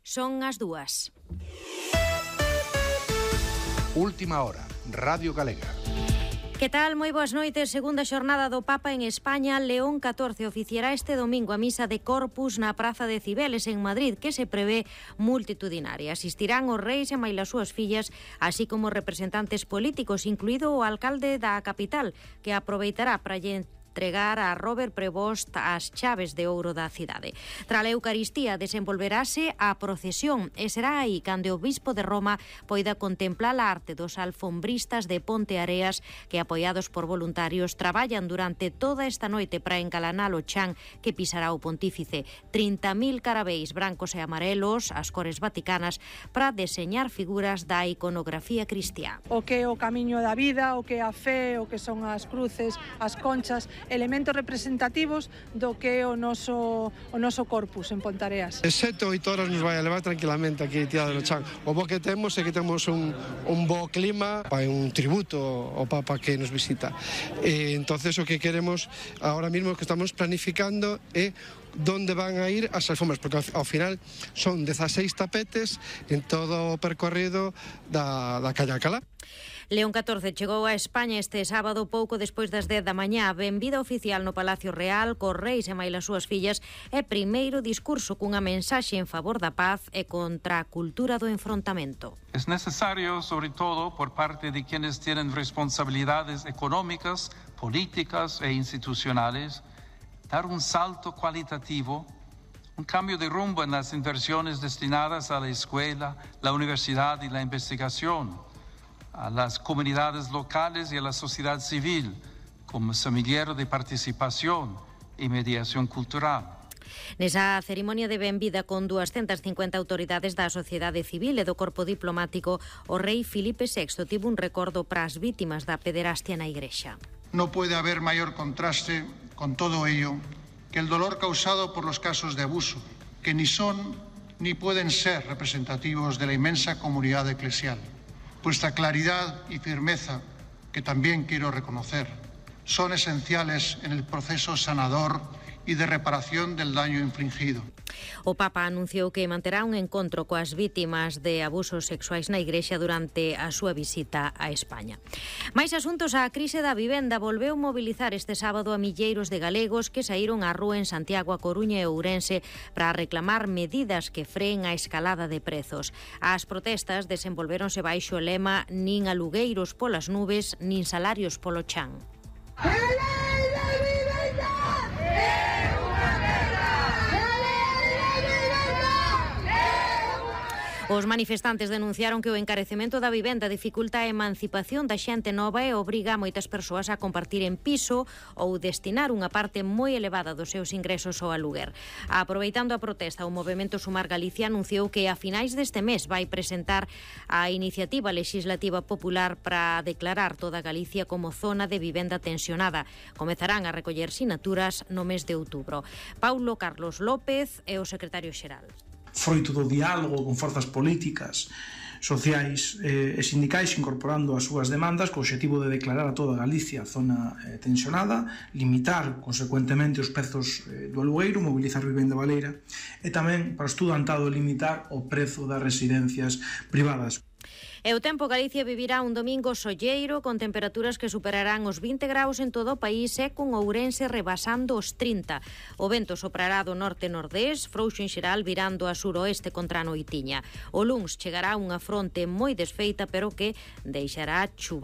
Son as 2:00. Última hora, Radio Galega. Que tal? Moi boas noites. Segunda xornada do Papa en España. León XIV oficiará este domingo a misa de Corpus na Praza de Cibeles en Madrid, que se prevé multitudinaria. Asistirán os reis e máis as súas fillas, así como representantes políticos, incluído o alcalde da capital, que aproveitará para entregar a Robert Prevost as chaves de ouro da cidade. Tras a Eucaristía desenvolverase a procesión e será aí cando o bispo de Roma poida contemplar a arte dos alfombristas de Ponte Areas que, apoiados por voluntarios, traballan durante toda esta noite para encalanar o chan que pisará o pontífice. 30.000 carabeis brancos e amarelos, as cores vaticanas, para deseñar figuras da iconografía cristiá. O que é o camiño da vida, o que é a fe, o que son as cruces, as conchas, elementos representativos do que é o noso corpus en Pontareas. 7 ou 8 horas nos vai a levar tranquilamente aquí tirado no chan. O bo que temos é que temos un bo clima, un tributo ao Papa que nos visita. Entonces o que queremos ahora mismo que estamos planificando é donde van a ir as alfombras, porque ao final son 16 tapetes en todo o percorrido da calle Alcalá. León XIV chegou a España este sábado pouco despois das 10 da mañá. Benvida oficial no Palacio Real, cos reis e máis as súas fillas, e primeiro discurso cunha mensaxe en favor da paz e contra a cultura do enfrontamento. Es necesario, sobre todo por parte de quienes tienen responsabilidades económicas, políticas e institucionales, dar un salto cualitativo, un cambio de rumbo en las inversiones destinadas a la escuela, la universidad y la investigación, a las comunidades locales y a la sociedad civil como semillero de participación y mediación cultural. Nesa cerimonia de benvida con 250 autoridades da sociedade civil e do corpo diplomático, o rei Filipe VI tivo un recordo para as vítimas da pederastia na Igrexa. No puede haber mayor contraste con todo ello que el dolor causado por los casos de abuso, que ni son ni pueden ser representativos de la inmensa comunidad eclesial. Vuestra claridad y firmeza, que también quiero reconocer, son esenciales en el proceso sanador y de reparación del daño infligido. O Papa anunciou que manterá un encontro coas vítimas de abusos sexuais na Igrexa durante a súa visita a España. Mais asuntos, a crise da vivenda volveu mobilizar este sábado a milleiros de galegos que saíron á rúa en Santiago, A Coruña e Ourense para reclamar medidas que freen a escalada de prezos. As protestas desenvolvéronse baixo o lema "Nin alugueiros polas nubes, nin salarios polo chan". Os manifestantes denunciaron que o encarecemento da vivenda dificulta a emancipación da xente nova e obriga a moitas persoas a compartir en piso ou destinar unha parte moi elevada dos seus ingresos ao aluguer. Aproveitando a protesta, o Movemento Sumar Galicia anunciou que a finais deste mes vai presentar a iniciativa legislativa popular para declarar toda Galicia como zona de vivenda tensionada. Comezarán a recoller sinaturas no mes de outubro. Paulo Carlos López é o secretario xeral. Froito do diálogo con forzas políticas, sociais e sindicais incorporando as súas demandas co obxectivo de declarar a toda Galicia zona tensionada, limitar consecuentemente os prezos do alugueiro, mobilizar vivenda baleira e tamén para estudantado limitar o prezo das residencias privadas. E o tempo, Galicia vivirá un domingo solleiro con temperaturas que superarán os 20 graus en todo o país e con Ourense rebasando os 30. O vento soprará do norte-nordés, frouxo en xeral virando a suroeste contra a noitiña. O luns chegará unha fronte moi desfeita pero que deixará chuva